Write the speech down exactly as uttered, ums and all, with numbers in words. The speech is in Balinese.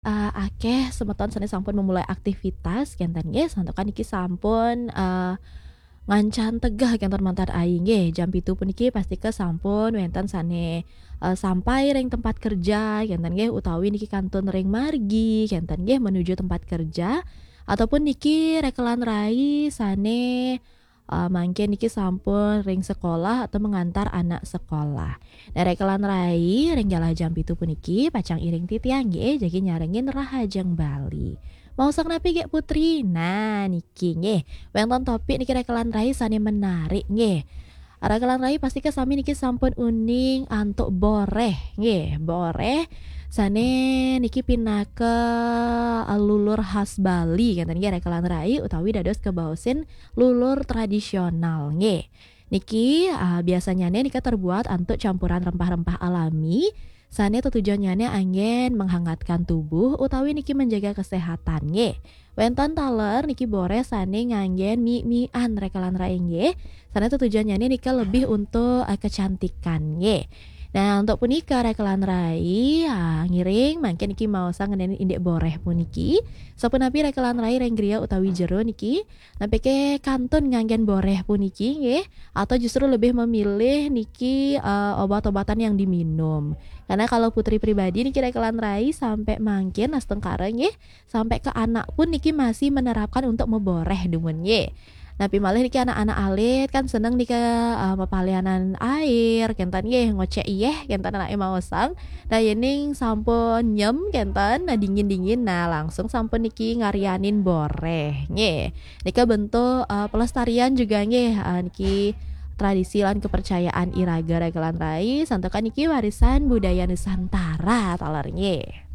Eh, akeh semeton sane sampun memulai aktivitas, kenten nggih, santukan niki sampun, eh, ngancan tegeh kenten mantan ai nggih. Jam pitu puniki pastika sampun wenten sane, eh, sampai ring tempat kerja, kenten nggih, utawi niki kantun ring margi, kenten nggih, menuju tempat kerja, ataupun niki rekelan rai sane, eh, mangkin niki sampun ring sekolah atau mengantar anak sekolah. Nah, rekelan rai ring galah jam pitu puniki pacang iring titiang nggih, jagi nyarengin Rahajeng Bali. Maosang napi, Gek Putri? Nah, niki nggih. Wenten topik niki rekelan rai sane menarik nggih. Rekelan rai pastika sami niki sampun uning antuk boreh nggih. Boreh sane niki pinaka, eh, lulur khas Bali, kenten nggih, rekelan rai, utawi dados kebaosin lulur tradisional nggih. Niki, eh, biasanyane nika terbuat antuk campuran rempah-rempah alami, sane tetujonnyane anggen menghangatkan tubuh utawi niki menjaga kesehatan nggih. Wenten taler niki boreh sane nganggen mi-mian, rekelan rai nggih. Sane tetujonnyane nika lebih untuk, eh, kecantikan nggih. Nah, untuk punika rekelan rai, ah, ngiring mangkin niki maosang ngenani indik boreh puniki. Sapunapi rekelan rai ring griya utawi jero niki, napike kantun nganggen boreh puniki nggih, atau justru lebih memilih niki, eh, obat-obatan yang diminum? Karena kalau Putri pribadi niki rekelan rai sampai mangkin astungkara nggih, sampai ke anak pun niki masih menerapkan untuk meboreh dumun nggih. Napi malih niki anak-anak alit kan seneng nika, eh, mapalianan air, kenten nggih, ngocek iyeh, kenten anake maosang. Nah, yening sampun nyem, kenten, nah, dingin-dingin, nah, langsung sampun niki ngaryanin boreh nggih. Nika bentuk, eh, pelestarian juga nggih, eh, niki tradisi lan kepercayaan iraga rekelan rai, santukan niki warisan budaya Nusantara taler nggih.